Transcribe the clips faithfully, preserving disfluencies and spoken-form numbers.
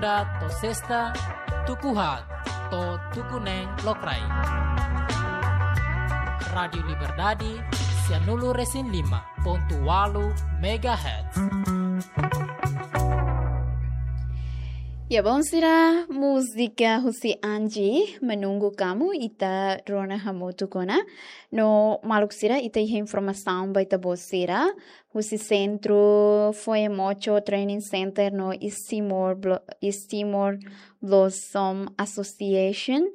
To'o sesta, tuku haat to'o tuku neen lokraik. Rádiu Liberdade, sianulu-resin-lima pontu ualu megahertz. Ya, bom, sira, múzika husi Angie, Menunggu Kamu, ita rona hamutuk ona. No maluk sira, ita iha informasaun ba ita-boot sira husi Sentru Foemoco Training Center no East Timor Blo-, East Timor Blossom Association,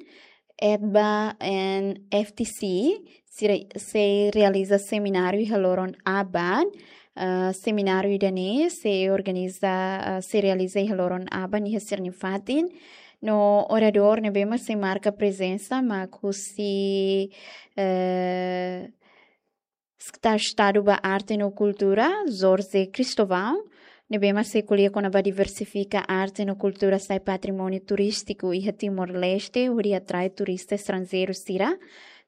ETBA and F T C, sira sei realiza semináriu iha loron aban. Ah, semináriu ida-ne'e sei organiza, ah, sei realiza iha loron aban iha sira-nia fatin. No oradór ne'ebé mak sei marka prezensa mak husi, eh, Sekretáriu Estadu ba Arte no Kultura, Jorge Cristóvão, ne'ebé mak sei ko'alia kona-ba diversifika arte no kultura sai patrimóniu turístiku iha Timor-Leste, hodi atrai turista estranjeiru sira.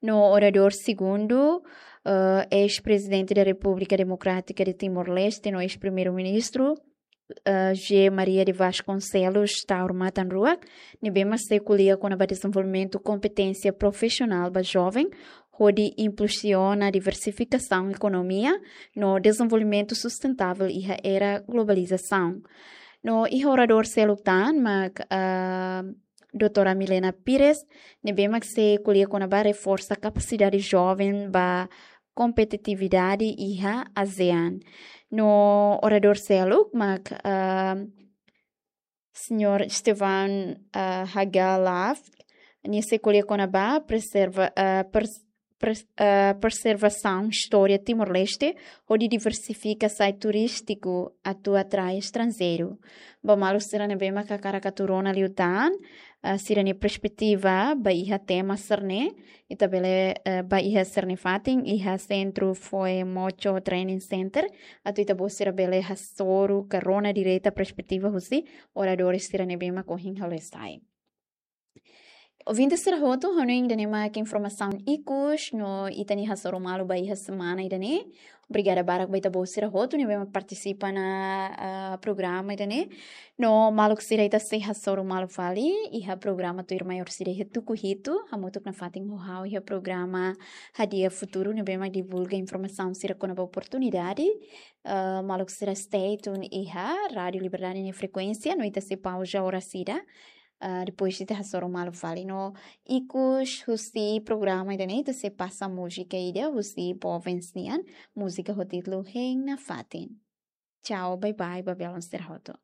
No oradór segundu, eh, eis-Prezidente da Repúblika Demokrátika de Timor-Leste, no eis-Primeiru-Ministru, eh, José Maria de Vasconcelos Taur Matan Ruak, ne'ebé mak sei ko'alia kona-ba dezenvolvimentu kompeténsia profisionál ba joven, hodi impulsiona diversifikasaun ekonomia no dezenvolvimentu sustentável iha era globalizasaun. No iha oradór seluk tan mak, ah, doutora Milena Pires, ne'ebé mak sei ko'alia kona-ba reforsa kapasidade joven ba kompetitividade iha ASEAN. No oradór seluk mak, ah, señór Esteban, ah, Hagalaf, nia sei ko'alia kona-ba preserva-, ah, pres-, pres-, ah, preservasaun istória Timor-Leste, hodi diversifika sai turístiku atu atrai estranjeiru. Ba maluk sira ne'ebé mak hakarak atu rona liután, ah, sira-nia perspetiva ba iha tema sira-ne'e, ita bele, eh, ba iha sira-nia fatin, iha Sentru Foemoco Training Center, atu ita-boot sira bele hasoru ka rona direta perspetiva husi oradór sira ne'ebé mak ohin halo sai. Ouvinte sira hotu, hanoin ida-ne'e mak informasaun ikus no ita-nia hasoru malu ba iha semana ida-ne'e. Obrigada barak ba ita-boot sira hotu ne'ebé mak partisipa ona, ah, programa ida-ne'e. No maluk sira, ita sei hasoru malu fali iha programa tuir maior sira iha tuku hitu, hamutuk nafatin ho ha'u iha programa Hadi'a Futuru ne'ebé mak divulga informasaun sira kona-ba oportunidade. Ah, maluk sira stay tune iha Rádiu Liberdade nia frekuénsia, no ita sei pauza oras ida. Ah, depois ita hasoru malu fali no ikus husi programa ida-ne'e ita sei pasa múzika ida husi Bovens nian, múzika ho títulu Hein Nafatin. Tchau, bye bye, ba belun sira hotu.